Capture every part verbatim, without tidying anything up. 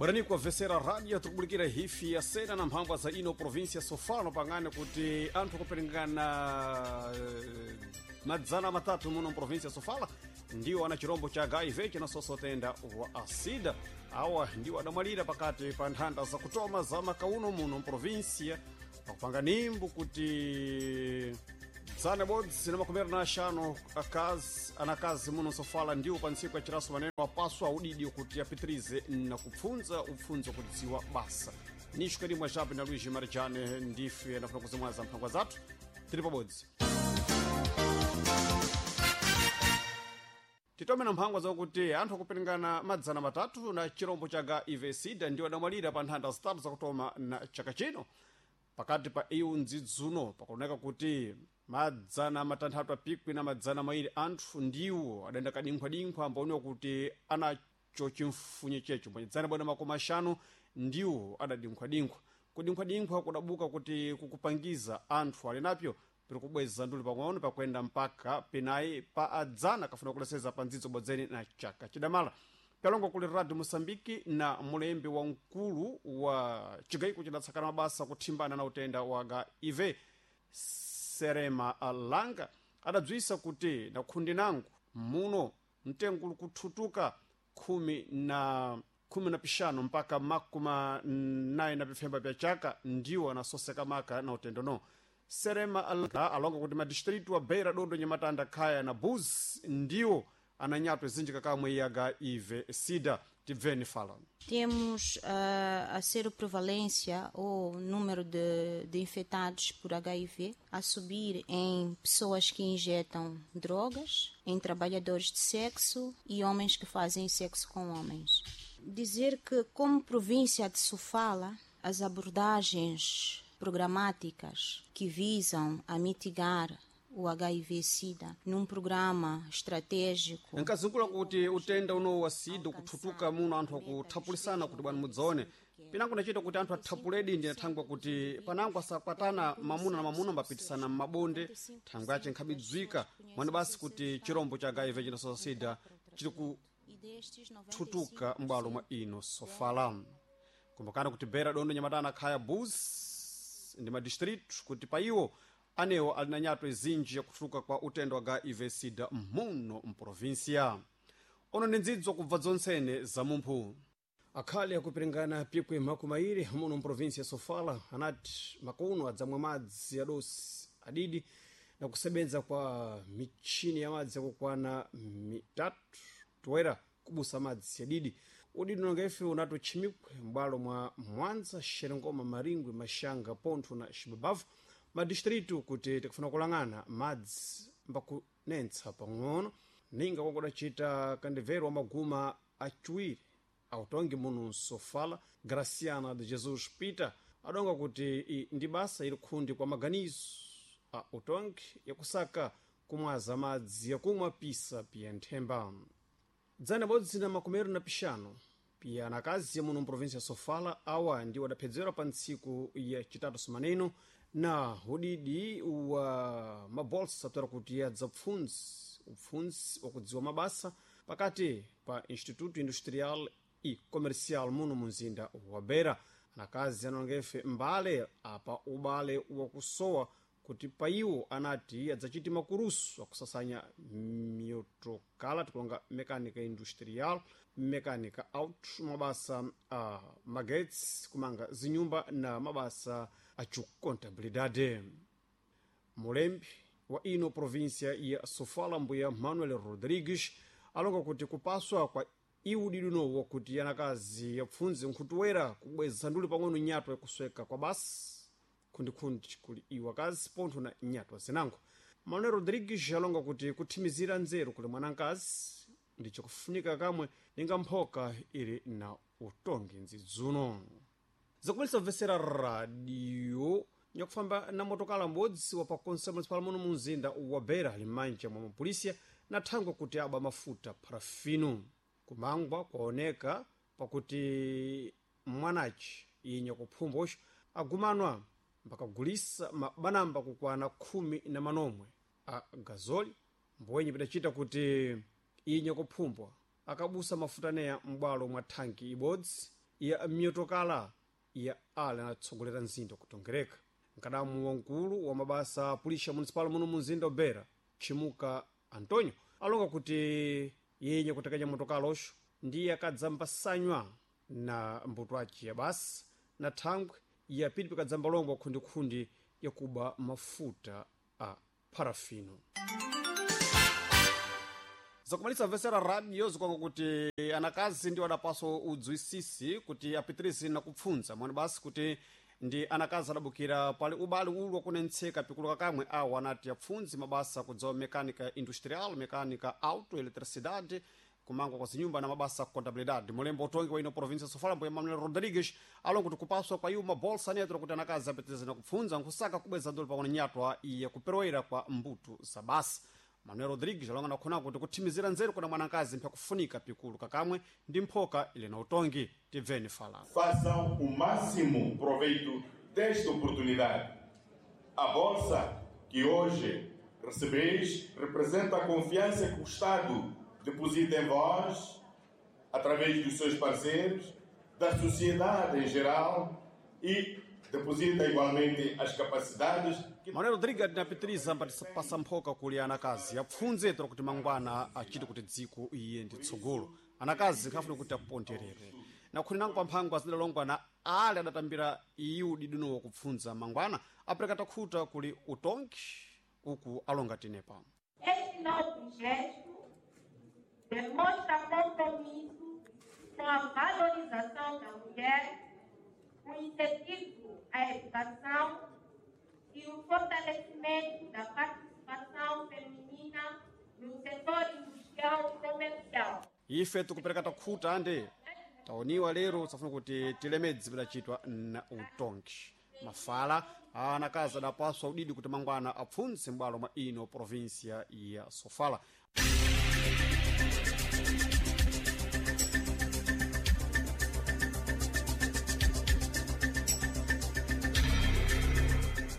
Bwerani kuwavesera radio tikubulikira hifi ya sena na mphambwa za ino provinsia Sofala pangane kuti anthu akuperingana eh, madzana matatu muno mprovinsia Sofala ndiwo ana chirombo cha H I V chinasosa utenda wa asida. Awa ndiwo adamwalira pakati pa nthanda zakutoma za makauno muno mprovinsia, pakupanga nimbu kuti dzana bodzi na makumi na axanu akazi anakazi muno Sofala ndiwo pa ntsiku ya chiraso maneno apaswa udidi kuti apitirize na kupfunza upfunzo kudziwa basa. Nixo kadimwa chape na Luiz Marijane ndife anafuna kuzimwaza mphangwa zathu tili pabodzi. Titome na mphangwa zakuti anthu akuperingana madzana matatu na chirombo cha H I V sida ndiwo adamwalira pa nthanda zitatu zakutoma na chaka chino. Pakati pa iwu ndzidzuno pakuoneka kuti madzana matanthatu apikwi na madzana mairi anthu ndiwo adayenda kadinkhwadinkhwa ambaoniwa kuti anacho chimfunye checho, mbwe bwana makumi axanu ndiwo adadinkhwadinkhwa. Kudinkhwadinkhwa kudabuka kuti kukupangiza anthu ali napyo piri kubweza nduli pang'ono pakuenda mpaka penayi pa adzana kafuna kuleseza pa ndzidzo bodzeni na chaka chidamala. Pyalongo kuli Radio Moçambique na mulembi wa mkulu wa chigayiko chidatsakana mabasa kuthimbana na utenda wa H I V, Serema Langa, adabzwisa kuti na khundi nangu muno mtengo uli kuthutuka khumi na khumi na pixanu mpaka makumi nayi na pifemba pya chaka ndiwo anasoseka maka na utendo no. Serema Langa alonga kuti madistritu wa Beira, Dondo, Nyamatanda, Khaya na Buzi ndiwo ananyatwa zinji kamwe ya H I V sida. Tibveni fala. Temos uh, a seroprevalência ou número de, de infectados por H I V a subir em pessoas que injetam drogas, em trabalhadores de sexo e homens que fazem sexo com homens. Dizer que, como província de Sofala, as abordagens programáticas que visam a mitigar o H I V-Sida num programa estratégico. Nkazungula kuti utenda uno wa sida ukuthutuka muno, anthu akuthapulisana kuti bwana mudzaone pinango nachita kuti anthu athapuledi ndi thangwa kuti panango asakwatana mamuna na mamuna mbapitisana m'mabonde, thangwe yace nkhabidzwika mwani basi kuti chirombo cha H I V chinasosa sida chili kuthutuka m'bwalo mwa ino Sofala. Kumbukani kuti Beira, Dondo, Nyamatana, Khaya, Bus ndi madistritu kuti pa iwo anewo ali na nyatwa izinji yakutuluka kwa utenda wa H I V sida muno mprovinsia. Ono ndi ndzidzo kubva dzontsene za mumphu akhale akupiringana pikwi makumi airi muno mprovinsia ya Sofala anati makuno adzamwa madzi adosi adidi na kusebenza kwa michini ya madzi yakukwana mitatu toera kubusa madzi adidi. Udidi unonga ife unatochimikwe m'bwalo mwa Mwanza, Xerengoma, Maringwe, Maxanga, Pontho na Xibabavu, madistritu kuti tikufuna kulang'ana madzi mbakunentsa pang'ono ninga kwankudacita kandivero wa maguma aciwiri autongi muno Nsofala, Graciana de Jesus Peter, adonga kuti i ndi basa ili khundi kwa maganizo a utongi yakusaka kumwaza madzi yakumwa pisa piya nthemba. Dzana bodzi na makumero na pixanu piya anakazi muno mprovinsia ya Sofala awa ndiwo adaphedzerwa pa ntsiku ya chitatu sumaneno na udidi wa mabolsa aptera kuti adzapfundzi upfundzi wakudziwa mabasa pakati pa Instituto Industrial e Comercial muno munzinda wa Beira. Anakazi anongefe mbale apa ubale wakusowa kuti pa iwo anati adzachiti makurusu akusasanya miyotokala, tikulonga mekanika industrial, mekanika auto, mabasa a magetsi, kumanga zinyumba na mabasa acukontabilidade. Mulembi wa ino província ya Sofala, mbuya Manuel Rodrigues, alonga kuti kupaswa kwa iwu didi kuti anakazi yapfundze nkhutuwera kubweza nduli pang'ono nyatwa yakusweka kwa basi khundikhundi kuli iwo akazi pontho na nyatwa zinango. Manuel Rodrigues alonga kuti kuthimizira nzeru kuli mwanankazi ndichakufunika kamwe ninga mphoka ili na utongi nzidzuno. Zakumalisa kubvesera radio, nyakufamba na motokala m'bodzi wa pakonsa municipal muno mu mzinda wa Beira ali m'manja mwa mapolisiya na thangwe kuti aba mafuta parafino. Kumangwa kwaoneka pakuti mwanaci inya kuphumbosho agumanwa mpakagulisa mabanamba kukwana khumi na manomwe a gazoli, mbwenye pidacita kuti inya kuphumbwa akabusa mafuta neya m'bwalo mwa thanki ibodzi. ya miyotokala ya ale anatsogolera mzinda kutongereka. Mkadamu wamkulu wa mabasa a pulisha municipal muno mu mzinda wa Beira, Chimuka Antonio, alonga kuti yenye kutekenya motokala oxo ndiye akadzambasanywa na mbuto aci ya basi na thangwe ya pili pikadzamba longwa khundikhundi yakuba mafuta a parafino. Zakumalisa vesera radio zikwanga kuti anakazi ndi adapaso udzwisisi kuti apitirize na kupfunza mwani basi kuti ndi anakazi adabukira pali ubale ulu wakunentseka pikuluka kamwe awo anati apfundzi mabasa kudzawa mecânica industrial, mecânica auto, eletricidade, kumangwa kwa zinyumba na mabasa contabilidade. Mulembo utongi wa ino província Sofala mbuya Manuel Rodrigues alonga kuti kupaswa kwa iwo mabolsa anetera kuti anakazi apitirize na kupfunza nkusaka kubweza ndolo pakona nyatwa iye kuperoera kwa mbuto za basa. Manuel Rodrigues alonga nakhona kuti kuthimizira nzeru kuna mwanakazi mpyakufunika pikulu kakamwe ndi mphoka ili na utongi. Tibveni fala. Façam o máximo proveito desta oportunidade. A bolsa que hoje recebeis representa a confiança que o Estado deposita em vós, através dos seus parceiros, da sociedade em geral e deposita igualmente as capacidades que Manuel Rodrigues adinapitiriza mpatipasa mphoka kuli anakazi apfundze tera kuti mangwana achite kuti dziko iye ndi tsogolo. Anakazi nkhafuna kuti aponderere nakhuli nango pamphangwa azidalongwa na ale adatambira iyu didunowo kupfundza mangwana apereka takhuta kuli utongi uku alonga tenepa. Este novo gesto demonstra compromisso com a valorização da mulher, o incentivo à educação e o fortalecimento da participação feminina no setor industrial e comercial. Ife tikupereka takhuta ande taoniwa lero safuna kuti tilemedzi pidachitwa na utongi. Mafala anakazi adapaswa udidi kuti mangwana apfundze m'bwalo mwa ino província ya Sofala.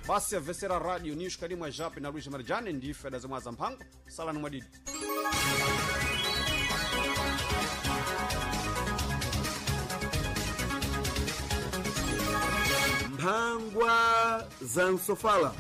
Basi avesera radio news kalimwa jape na Luiz Marjane ndife adazimwaza mphango salani mwadidi. Mphangwa za Nsofala.